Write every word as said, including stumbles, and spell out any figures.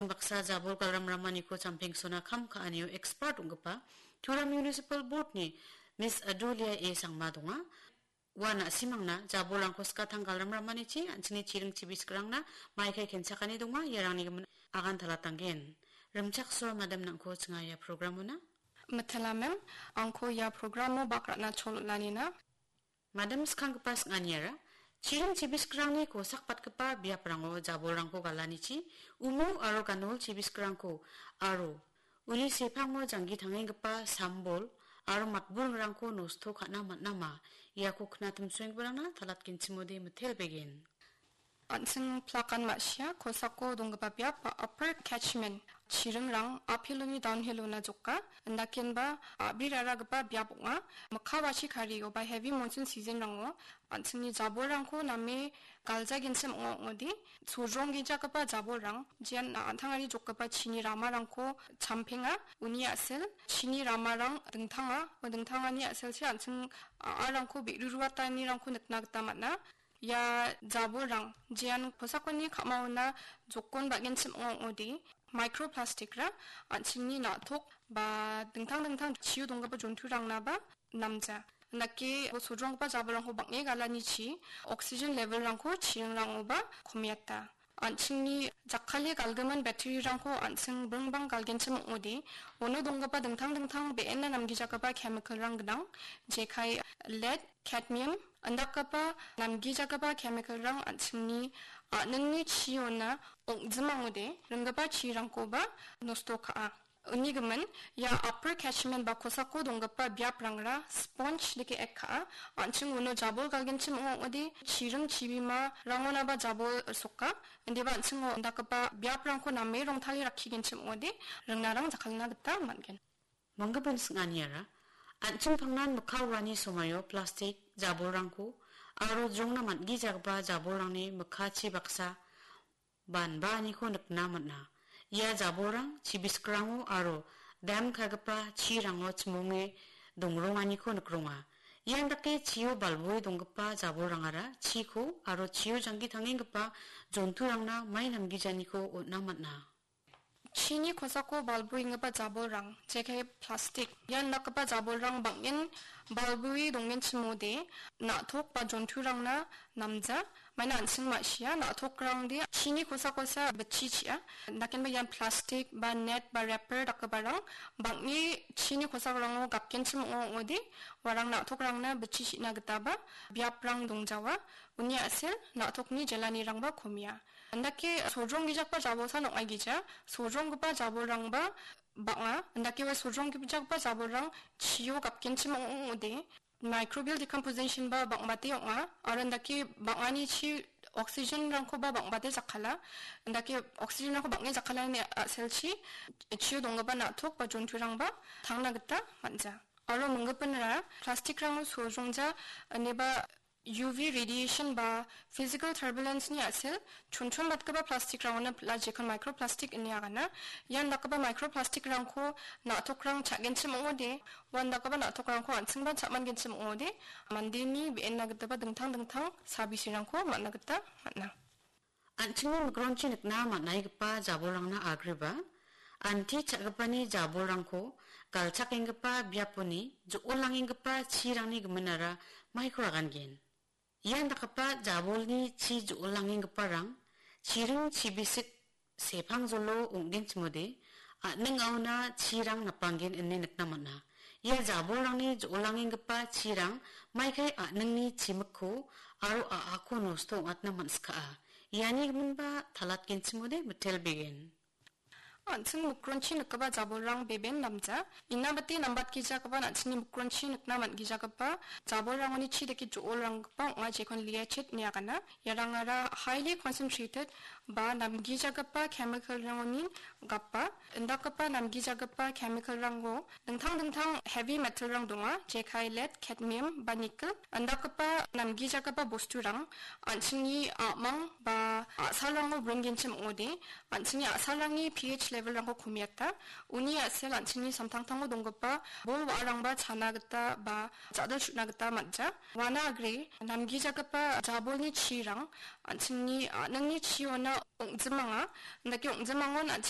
Baksa jabol galram ramaniko champengsona kam ka·anio expert ong·gipa Tura Municipal Board-ni Miss Adulia A Sangma donga. Ua na·simangna jabolrangko skatang galram ramanichi an·chingni chiring chibiskrangna maikai kenchakani donga, iarangni gimin agan talatanggen. Rimchaksoa madam nangko chinga ia programona. Matalamem, angko ia programo bak ra·na chol on·anina. Madam skanggipa sing·aniara, chiring chibiskrangni kosakbatgipa biaprango jabolrangko galanichi, umo aro ganol chibiskrangko aro uni sepango janggi tangenggipa sambol aro matburingrangko nosto ka·na man·ama, iako knatimsoenggiparangna talatgenchimode mitelbegen. An·ching plakan ma·sia kosako donggipa biap ba Upper Catchment chiringrang uphilloni downhillona joka, indakenba a·briraragipa biap ong·a. Mikka wachi kario ba heavy monsoon seasonrango an·chingni jabolrangko name galjagenchim ong·a ong·ode, sojronggijagipa jabolrang, jean a-, an·tangari jokgipa chini ramarangko champenga. Uni a·sel chini ramarang dingtanga, ua dingtangani a·selchi an·ching a·arangko be·riruatanirangko nikna gita man·a. Ia jabolrang, jean kosakoni ka·maona jokon ba·genchim ong·a ong·ode, microplastic-ra an·chingni na·tok ba dingtang dingtang chio donggipa jonturangnaba namja. Indake sojronggipa jabolrangko bang·e galanichi oxygen level-rangko chiringrangoba komiata. An·chingni jakkale galgimin battery-rangko an·ching bringbang galgenchim ong·ode, uno donggipa dingtang dingtang be·ena namgijagipa chemical-rang gnang, jekai lead, cadmium, indakgipa namgijagipa chemical-rang an·chingni a·ningni chiona ong·jim ong·ode, ringgipa chirangkoba nosto ka·a. Uni gimin, ia Upper Catchment ba kosako donggipa biaprangra sponge dake ek ka·a. An·ching uno jabol galgenchim ong·ode, chiring chibimarangonaba jabol soka. Indiba an·chingo indakgipa biaprangko name rongtale rakkigenchim ong·ode, ringnarang jakkalna gita man·gen. Manggipan sing·aniara, an·ching pangnan mikka uani somaio plastik jabolrangko aro jongna man·gijagipa jabolrangni mikkachi baksa banbaaniko nikna man·a. Ia jabolrang chibisgrango aro dam ka·gipa chirango chimonge dongronganiko nikronga. Ian dake chio balboe donggipa jabolrangara chiko aro chio janggi tangenggipa jonturangna mai namgijaniko on·a man·a. Chini kosako balboenggipa jabolrang, jekai plastik, ian dakgipa jabolrang bang·en balboe dongenchimode, na·tok ba jonturangna namja. Maina an·ching ma·sia, na·tokrangde chini kosakosa bitchi chi·a. Dakenba ian plastik ba net ba wrapper dakgiparang bang·e chini kosakrango gapgenchim ong·a ong·ode, uarang na·tokrangna bitchi chi·na gitaba biaprang dongjawa. Uni a·sel na·tokni jelanirangba komia. Indake sojronggijakba jabolsan ong·aigija, sojronggipa jabolrangba bang·a. Indake ua sojronggijakba jabolrang chio gapgenchim ong·ode, microbial decomposition ba bang·bate ong·a, aro indake bang·ani chi oxygen-rangkoba bang·bate jakkala. Indake oxygen-rangko bang·e jakkalani a·selchi chio donggipa na·tok ba jonturangba tangna gita man·ja. Aro minggipinra plastikrango sojrongja ineba U V radiation ba physical turbulence-ni a·sel chonchonbatgipa plastikrangona pila jekon microplastic ine agana. Ian dakgipa microplastikrangko na·tokrang cha·genchim ong·ode, uan dakgipa na·tokrangko an·chingba cha·mangenchim ong·ode, mandeni be·enna gitaba dingtang dingtang sabisirangko man·a gita man·a. An·chingni mikronchi nikna man·aigipa jabolrangna agreba, anti cha·gipani jabolrangko galchakenggipa biaponi jo·olangenggipa chirangni giminara maiko ragangen. Ian dakgipa jabolni chi jo·olangenggiparang chiring chibisik sepangjolo ong·genchimode, a·ning aona chirang napanggen ine nikna man·a. Ia jabolrangni jo·olangenggipa chirang maikai a·ningni chimikko aro a·ako nosto ong·atna man·skaa. Iani giminba talatgenchimode mitelbegen. An·ching mikronchi nikgipa jabolrang beben namja. Inabate nambatgijagipan an·chingni mikronchi nikna man·gijagipa jabolrangoni chi dake jo·olranggipa ong·a, jekon leachit ine agana. Iarangara highly concentrated ba namgijagipa chemical-rangonin gapa. Indakgipa namgijagipa chemical-rango dingtang dingtang heavy metal-rang donga, jekai lead, cadmium ba nickel. Indakgipa namgijagipa bosturang an·chingni a·mang ba a·salrango bringenchim ong·ode, an·chingni a·salrangni P H level-rangko komiata. Uni a·sel an·chingni samtangtango donggipa bol wa·arangba chana gita ba ja·dal chu·na gita man·ja. Uana agre namgijagipa jabolni chirang an·chingni a·ningni chiona ong·jimanga, indake ong·jimangon an·ching